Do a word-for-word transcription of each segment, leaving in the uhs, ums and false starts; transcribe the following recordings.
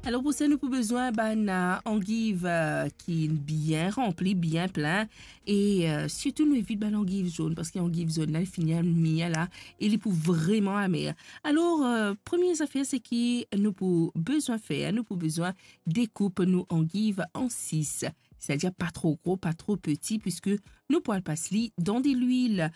Alor, pou sa, nou pou bezwin bann, eh, angiv, eh, ki bien ranpli, bien plin. E, eh, sirtou, nou evit bann angiv zonn, parski angiv zonn la, li fini amir la, e li pou vreman amer. Alor, eh, premie zafer, se ki nou pou bezwin fer, nou pou bezwin dekoup nou angiv an sis. Setadir pa tro gro, pa tro peti, piski nou pou al pas li dan delwil.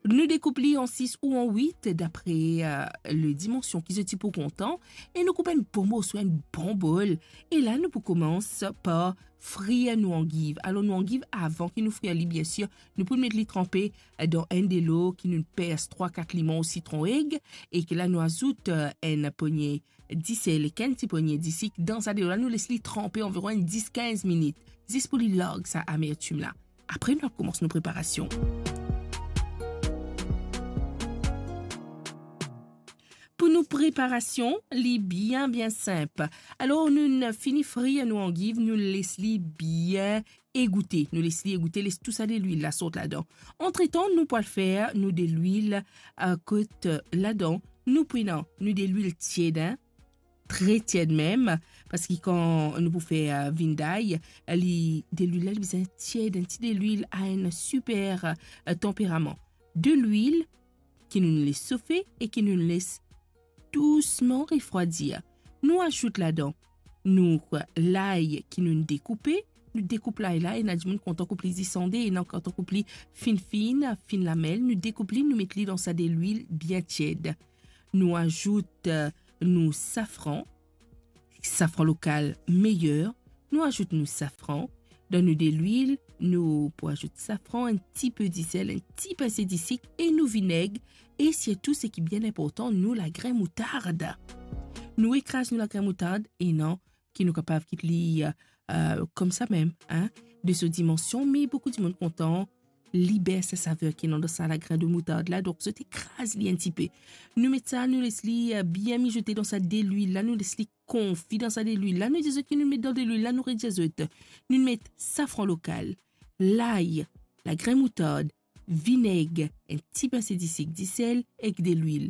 Nou dekoup li an sis ou an wit, dapre, eh, le dimansion ki zot ti pou kontan, e nou koup enn bon morso, enn bon bol. E la, nou pou koumans par frir nou angiv. Alor, nou angiv, avan ki nou frir li, biensir, nou pou met li tranpe, eh, dan enn delo ki nou pers trwa, kat limon ou sitron eg, e ki la, nou azout, eh, enn pogne disel ek enn ti pogne disik dan sa delo la, nou les li tranpe anviron enn dis kinz minit, zis pou li larg sa amertim la. Apre, nou koumans nou preparasion. Pou nou preparasion, li bien, bien sinp. Alor, nou'nn fini frir nou angiv, nou les li bien egoute. Nou les li egoute, les tou sa delwil la sort ladan. Antretan, nou pou al fer nou delwil, eh, kot, eh, ladan, nou pou ena nou delwil tied, hein, tre tied mem, parski kan nou pou fer, eh, vinday, eh, li, delwil la, li bizin tied, enn ti delwil a enn siper, eh, tanperaman. Delwil ki nou les sofe e ki nou les dousman refrwadir. Nou azout ladan nou lay ki nou dekoupe, nou dekoup lay la, ena dimoun kontan koup li zis an de, ena kontan koup li fin fin, fin lamel, nou dekoup li, nou met li dan sa delwil bien tied. Nou azout, eh, nou safran, safran lokal meyer, nou azout nou safran, dan nou delwil, nou pou azout safran, enn tipe disel, enn ti pinse disik e nou vineg, e sirtou seki bien inportan, nou lagrin moutard. Nou ekraz nou lagrin moutard, e non ki nou kapav kit li, eh, eh, koumsa mem, hein, de so dimansion, me boukou dimoun kontan liber sa saver ki ena dan sa lagrin de moutard la, donk zot ekraz li enn tipe. Nou met sa, nou les li, eh, bien mizote dan sa delwil la, nou les li konfi dan sa delwil la, nou dir zot ki nou met dan delwil la, nou redir zot. Nou met safran lokal, lay, lagrin moutard, vineg, enn ti pinse disik, disel ek delwil.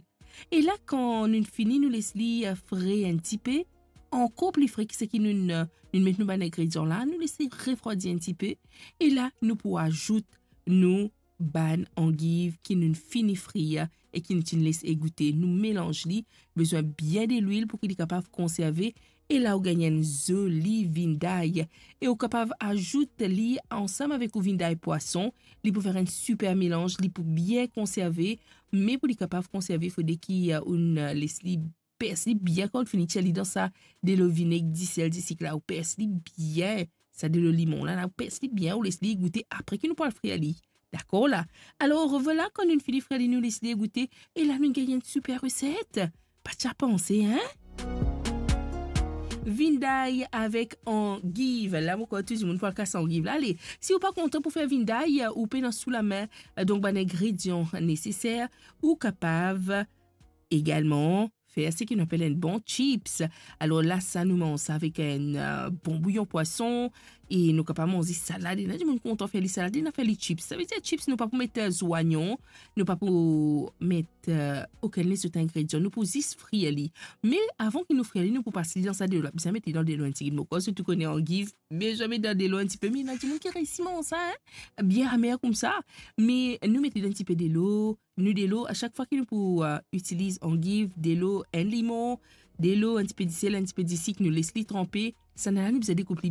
E la, kan nou fini, nou les li, eh, frir enn tipe, ankor pli fre ki seki nou, eh, nou met nou bann ingredian la, nou les li refrwadir enn tipe. E la, nou pou azout nou bann angiv ki nou fini frir e ki nou ti les egoute. Nou melanz li, bizin bien delwil pou ki li kapav konserve. E la, ou gagn enn zoli vinday. E ou kapav azout li ansam avek ou vinday pwason. Li pou fer enn siper melanz, li pou bien konserve. Me pou li kapav konserve, fode ki, eh, ou, eh, les li pers li bien kan ou fini tir li dan sa delo vineg, disel, disik la, ou pers li bien. Sa delo limon la, la, ou pers li bien, ou les li goute apre ki nou pou al frir li. Dakor la? Alor, vwala, kan nou fini frir li, nou les li goute, e la, nou gagn enn siper reset. Pa ti a panse, hein? Vinday avek angiv. La, mo krwar tou dimoun pou al kas angiv la. Ale, si ou pa kontan pou fer vinday, ou pena sou lame, donk, bann ingredian neseser, ou kapav egalman fer seki nou apel enn bon chips. Alor la, sa nou manz sa avek enn, eh, bon bouyon pwason, e nou kapav manz li salad. Ena dimoun kontan fer li salad, ena fer li chips. Savedir chips, nou pa pou met, eh, zwayon, nou pa pou met, eh, okenn lezot ingredian. Nou pou zis frir li. Me avan ki nou frir li, nou pou pas li dan sa delo la. Bizin met li dan delo enn tigit, mo krwar zot tou kone angiv, bizin met dan delo enn tipe. Me ena dimoun ki reisi manz sa, hein? Bien amer koumsa. Me nou met li dan enn tipe delo, nou delo, a sak fwa ki nou pou, eh, itiliz angiv, delo, enn limon, delo, enn tipe disel, enn tipe disik, nou les li tranpe. Sa la, nou bizin dekoup li